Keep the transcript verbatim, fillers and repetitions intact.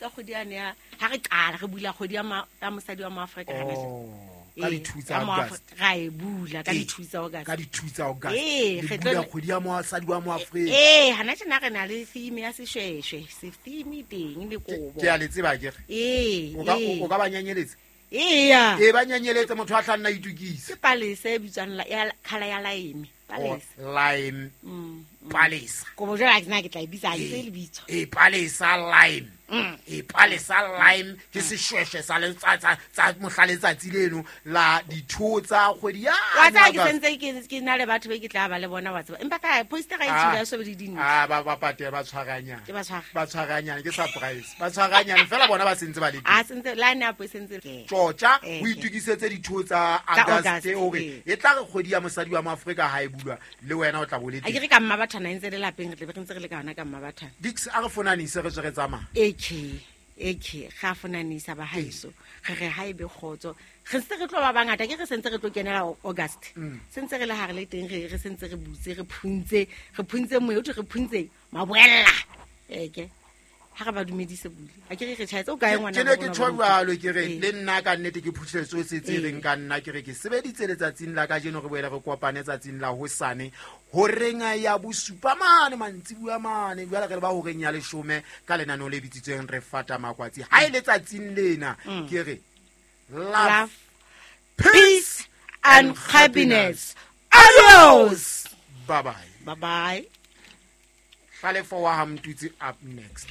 tsa kgwedi yane ya ha re qala re bula kgwedi ya ma- ya mosadi wa Moafrika hana jwale. Oh, ka di-two tsa Ya Moafri- August. ra e bula ka Ee, di-two tsa August. Ka di-two tsa August. Ee, Le re bula tlo- kgwedi ya mosadi wa Moafrika. Ee, hana tjena re na le theme ya seshweshwe, se theme teng le kobo. Ke a le tseba akere. Ee, O ka ee. o ka ba nyanyeletsa. Eya. Ee, ba nyanyeletsa motho a tla nna a itokisa. Ke palesa e bitswang la- ya colour ya lime. Oh, Palesa. lime. Mm, mm. Palesa. Kobo jwale ha ke na ke tla e bitsa, ha ke tsebe lebitso. Ee, palesa lime. Mm. Ee, palesa lime ke seshweshwe sa letsa- tsa tsa mohla letsatsi leno la ditho tsa kgwedi ya Wa tseba ke August. sentse ke ke na le batho be ke tla ba le bona wa tseba. Empa ka poster ga e Ah. tshwere ya sobe le dintle. Ah, ba ba patela ba tshwaranyane. Ke ba tshwara. Ba tshwaranyane ke surprise. Ba tshwaranyane fela bona ba sentse ba le teng. A sentse la ne a po sentse. Tjotja Eh, o itokisetse ditho tsa Tsa August August, hore ee. e tla re kgwedi ya mosadi wa Moafrika ha e bulwa le wena o tla bo le A ke teng. re ka Mmabathana e ntse le lapeng re tle be re ntse re le ka yona ka Mmabathana. Dix a re fonanise re tswe re tsamaya. Eke eke ga fonanisa ba haeso. Re re ha ebe kgotso. Re ntse re tlo ba bangata ke re sentse re tlo kenela August. Sentse re le hare le teng re re sentse re butse re phuntse re phuntse moya o thwe re phuntse maboella. Eke ha re ba dumedise bule. A ke re re tjhaetse o kae ngwana? Ke ne ke tjho jwalo ke re Ee. le nna ka nnete ke phuthile tsohle tse Ee. reng ka nna ke re ke sebeditse letsatsing la kajeno re boele re kopane tsatsing la hosane horeng ya bosupa mane mantsibuya mane jwale re le ba horeng ya leshome ka lenaneo le bitsitsweng re fata makwatsi ha e letsatsing lena ke re love, Love, peace peace and happiness. Adios. Bye bye. Bye bye. Hlalefo wa ha Mtutsi up next.